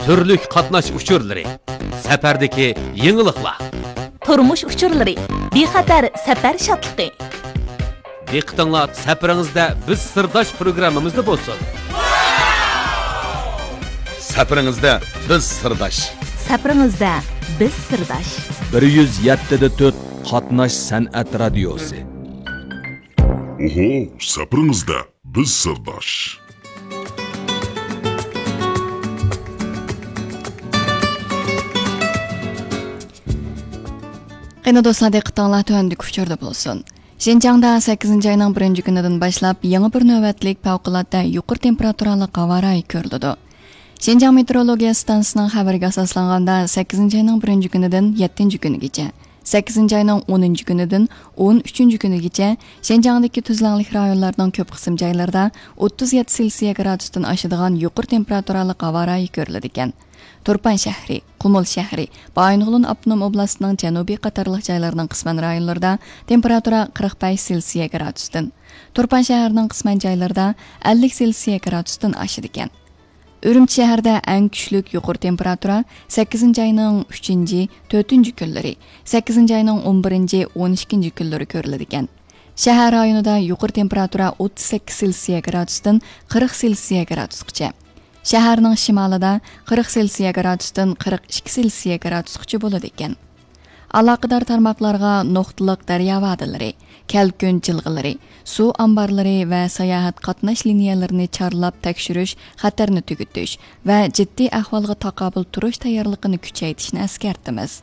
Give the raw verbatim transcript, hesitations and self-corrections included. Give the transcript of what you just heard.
تۈرلۈك قاتناش ئۇچۇرلىرى، سەپەردىكى يېڭىلىقلار، تۇرمۇش ئۇچۇرلىرى، بىخەتەر سەپەر شادلىقى. دىققىتىڭلار سەپىرىڭىزدە بىز سىرداش پروگراممىمىزدا بولسۇن. سەپىرىڭىزدە بىز سىرداش. سەپىرىڭىزدە بىز سىرداش. بىر يۈز يەتتە دە تۆت قاتناش سەنئەت رادىيوسى. ئوھو، سەپىرىڭىزدە بىز سىرداش. قېنى دوستلار، دىققىتىڭلار تۆۋەندىكى ئۇچۇردا بولسۇن. شىنجاڭدا سەككىزىنچى ئاينىڭ بىرىنچى كۈنىدىن باشلاپ يېڭى بىر نۆۋەتلىك پەۋقۇلئاددە يۇقىرى تېمپېراتۇرالىق ھاۋا رايى كۆرۈلىدۇ. شىنجاڭ مېتېئورولوگىيە ئىستانسىسىنىڭ خەۋىرىگە ئاساسلانغاندا، سەككىزىنچى ئاينىڭ بىرىنچى كۈنىدىن يەتتىنچى كۈنىگىچە، سەككىزىنچى ئاينىڭ ئونىنچى كۈنىدىن ئون ئۈچىنچى كۈنىگىچە شىنجاڭدىكى تۈزلەڭلىك رايونلارنىڭ كۆپ قىسىم جايلىرىدا ئوتتۇز يەتتە سېلسىيە گرادۇستىن ئاشىدىغان يۇقىرى تېمپېراتۇرالىق ھاۋا رايى كۆرۈلىدىكەن. تۇرپان شەھىرى، قۇمۇل شەھىرى، بايىنغولىن ئاپتونوم ئوبلاستىنىڭ جەنۇبىي قاتارلىق جايلارنىڭ قىسمەن رايونلىرىدا تېمپېراتۇرا قىرىق بەش سېلسىيە گرادۇستىن، تۇرپان شەھىرىنىڭ قىسمەن جايلىرىدا ئەللىك سېلسىيە گرادۇستىن ئاشىدىكەن. ئۈرۈمچى شەھىرىدە ئەڭ كۈچلۈك يۇقىرى تېمپېراتۇرا سەككىزىنچى ئاينىڭ ئۈچىنچى، تۆتىنچى كۈنلىرى، سەككىزىنچى ئاينىڭ ئون بىرىنچى، ئون ئىككىنچى كۈنلىرى كۆرۈلىدىكەن. شەھەر رايونىدا يۇقىرى تېمپېراتۇرا ئوتتۇز سەككىز سېلسىيە گرادۇستىن قىرىق سېلسىيە گرادۇسقىچە. شەھەرنىڭ شىمالىدا قىرىق سېلسىيە گرادۇستىن قىرىق ئىككى سېلسىيە گرادۇسقىچە بولىدىكەن. ئالاقىدار تارماقلارغا نۇقتىلىق دەريا ۋادىلىرى، كەلكۈن جىلغىلىرى، سۇ ئامبارلىرى ۋە ساياھەت قاتناش لىنىيەلىرىنى چارلاپ تەكشۈرۈش، خەتەرنى تۈگىتىش ۋە جىددىي ئەھۋالغا تاقابىل تۇرۇش تەييارلىقىنى كۈچەيتىشنى ئەسكەرتىمىز.